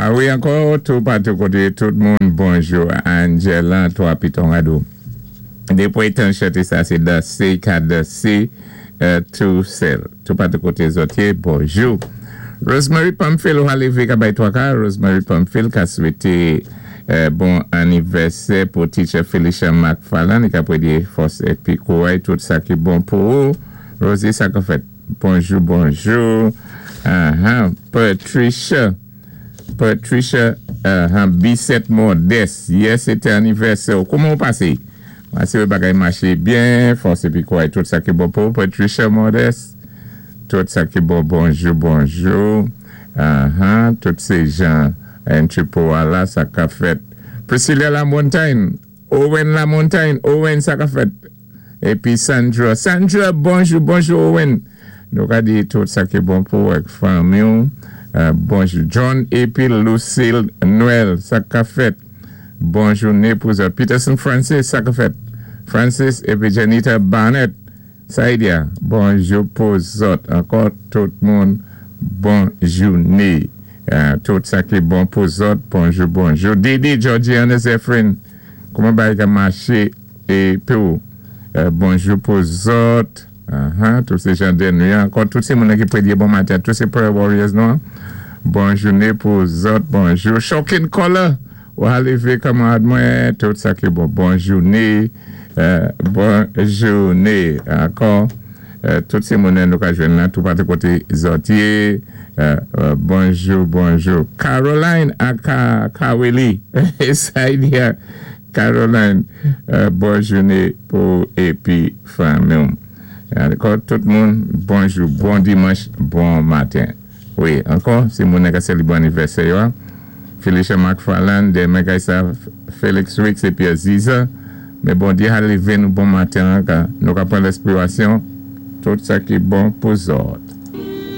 A wi, ankò toupatou koté tout moun, bonjou. Angela, 3 Piton Rado. Dépwi tan chanté sa, sé dansé, ka dansé tou sèl. Toupatou koté zòt yé, bonjou. Rosemary Pamphile, ou lévé ka bay twaka. Rosemary Pamphile ka swété bon anivèsè pou teacher Felicia McFarland. Li ka pwédyé fòs épi kouray, tout sa ki bon pou ou. Rosie, sa ka fèt. Bonjou, bonjou. Patricia. Patricia Bisset Modeste. Yè, sété anivèsè. Kouman ou pasé? Pasé bagay maché byen, fòs épi kouray, tout sa ki bon pou Patricia Modeste. Tout sa ki bon, bonjou, bonjou. Tout sé jan Entrepôt la, sa ka fèt. Priscilla Lamontagne, Owen Lamontagne, Owen, sa ka fèt. Épi Sandra, Sandra, bonjou, bonjou Owen. Nou ka di tout sa ki bon pou ak fanmi. Bonjou John épi Lucille Noël, sa ka fèt. Bon jouné pou zòt. Peterson Francis, sa ka fèt. Francis épi Janita Barnett. Saïdia, bonjou pou zòt. Ankò tout moun, bon jouné. Tout sa ki bon pou zòt, bonjou, bonjou. Didi, Georgiana Zephyrin, kouman bagay ka maché é pou bonjou pou zòt. Tout sé jan de nou. Ankò tout sé moun ki pwédyé bon maten, tout sé prayer warriors nou. Bon jouné pou zòt, bonjou. Shocking Color, ou lévé kanmarad mwen, tout sa ki bon. Bon jouné, bon jouné. Ankò, tout sé moun nou ka jwenn la, toupatou koté zòt yé. Bonjou, bonjou. Caroline aka Kaweli, Saïdia Caroline, bon jouné pou épi fanmi. Ankò tout moun, bonjou, bon dimanch, bon maten. Wi, ankò, sé moun ki sélébwé anivèsè yo. Felicia McFarland, Demain Kaisa, Félix Ricks épi Aziza. Men Bondyé a lévé nou bon maten, nou ka pran lenspirasyon, tout sa ki bon pou zòt.